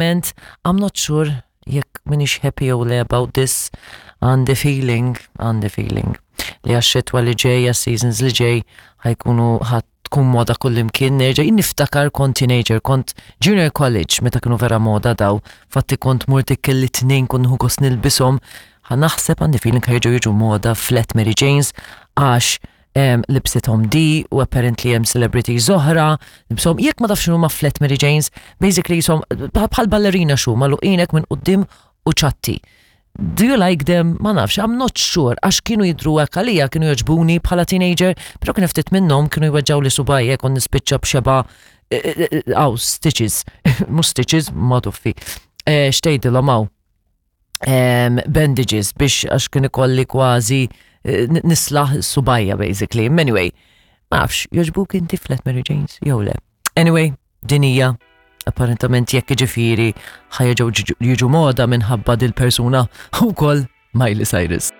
Ment, I'm not sure jekk minix happy jew le about this, għandi feeling, għandi feeling li għax-xitwa li ġej, għas-seasons li ġej, ħajkunu ħadd tkun moda kullimkien nerġa' jien niftakar kont teenager, kont junior college meta kienu vera moda daw, fatti kont mort kelli tnejn kont nieħu gost nilbishom, ħa naħseb għandi feeling ħa jiġu moda flat Mary Janes għax libsithom di u apparently hemm celebrities oħra, libshom jekk ma tafx x'inhuma flat Mary Janes, basically jisom bħal ballerina xu magħluqinek minn quddiem u ċatti. Do you like them? Ma nafx, I'm not sure, għax kienu jidru hekk għalija, kienu jogħġbuni bħala teenager, però kien ftit minnhom kienu jweġġgħu li subgħajja kont nispiċċa b'xeba għaw stitches, mhux stitches, ma tuffi. Xtejdilhom hawn bandages biex għax kien ikolli kważi nislaħ subgħajja basically. Anyway, ma nafx, jogħġbuk inti flat Mary Janes jew le. Anyway, din hija apparentament jekk ġifieri ħa jerġgħu jiġu moda minħabba dil-persuna wkoll Miley Cyrus.